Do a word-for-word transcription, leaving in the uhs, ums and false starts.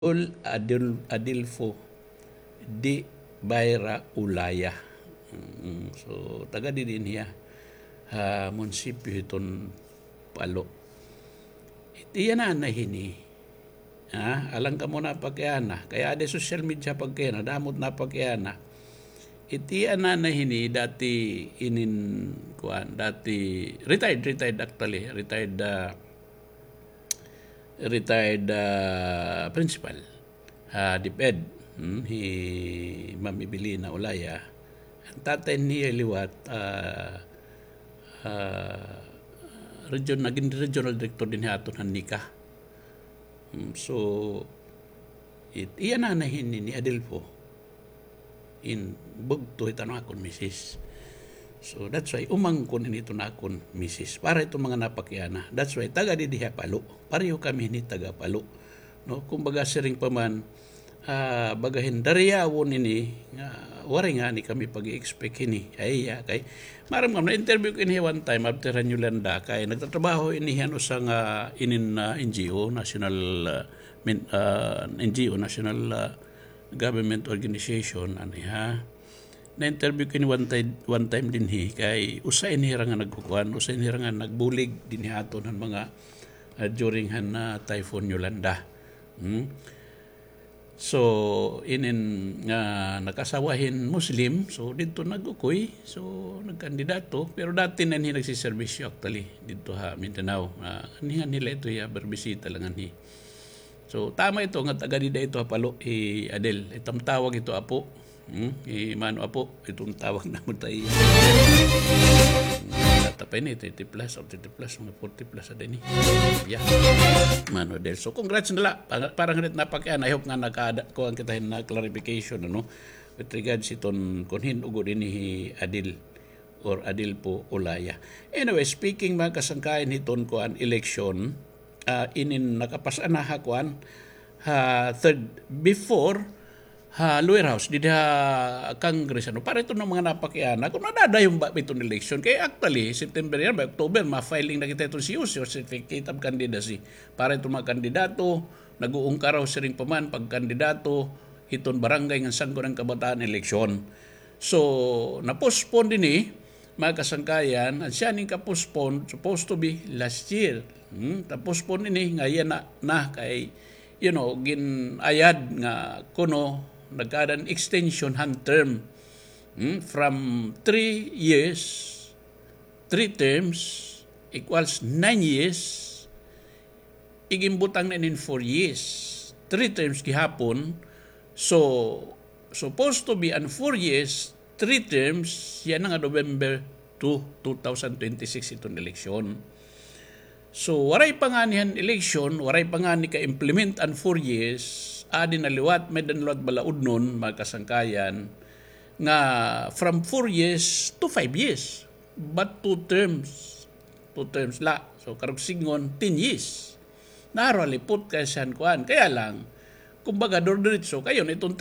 Adil-, Adilfo de Bayra Olaya. Mm, so, taga didi hiya ha munisipyo hiton Palo. It iya nanay hini. Ha? Alang kamo napakiana. Kay aada ha social media pagkiana, damo it napakiana. It iya nanay hini, dati inin, kuan, dati, retired, retired actually, retired, ah, retired, ah, principal, ah, DepEd, hmm, hi Ma'am Evelina Olaya. An tatay niya liwat, ah, ah, region-, nagin regional director dinhi ha aton han NECA. Hmm, so, it-, iya nanay hini ni Adilfo. In bugto hiton akon misis. So, that's why umangkon ini hiton akon misis. Para hiton mga napakiana. That's why taga didi ha Palo. Pareho kami hini taga Palo. No, kumbaga siring pa man, ah, baga hin Dariawon ini, nga, waray ngani kami pag-i-expect hini. Ay, iya, kay, maaram ngani, na-interview ko ini one time, after han Yolanda, kay nagtatrabaho ini han usa nga inin, ah, NGO, national, ah, min-, ah, NGO, national, ah, government organization, ano ha. Na-interview ko ini one time, one time dinhi, kay usa ini hira nga nagkukuan, usa ini hira nga nagbulig dinhi ha aton han mga, ah, during han, ah, Typhoon Yolanda. Hmm? So, inin nga nakasawa hin Muslim, so didto nag-ukoy, so nagkandidato, pero dati na ini nagsiserbisyo actually, didto ha Mindanao. Ah, anihan nila ito, iya, berbisita la nganhi. So, tama ito nga taga dida ito ha Palo, hi Adel. Iton tawag ito, apo. Hmm? Hi Mano, apo. Iton tawag namon ta iya. Bata pa ini, thirty plus, o thirty plus, mga forty plus ada ini. Yeah. Mano Adel. So, congrats na la. Para, para ngani napakiana, I hope nga nakaada, kuan kita hin, ah, clarification, ano? With regards hiton, kon hin-o gud ini hi Adel or Adilfo Olaya. Anyway, speaking, mga kasangkayan, hiton kuan election, ah, inin nakapas-an na ha kuan, ha third, before, ha lower house, didi ha Congress, ano, para hiton mga napakiana, kon madadayon ba iton election. Kay actually, September yana ba, October, ma-filing na kita hiton C O C, o Certificate of Candidacy. Para hiton mga kandidato, nag-uungkaraw siring pa man pagkandidato hiton barangay ngan Sangguniang Kabataan election. So, na-postpone dinhi, mga kasangkayan, an siya inin ka-postpone, supposed to be last year. Hmm? Na-postpone ini, nga yana na kay, you know, gin-ayad nga kuno nagkaada hin extension han term. Hmm? From three years, three terms equals nine years. Iginbutang na inin four years. Three terms gihapon. So, supposed to be an four years, three terms, yana nga November two, two thousand twenty-six iton eleksyon. So, waray pa ngani han eleksyon, waray pa ngani ka-implement an four years, adi na liwat, may-ada na liwat balaudnon, mga kasangkayan, nga from four years to five years. But two terms. Two terms la. So, karuyag sidngon, ten years. Naharo halipot kay siya han kuan. Kaya lang, kumbaga, duro-diretso, kay iton three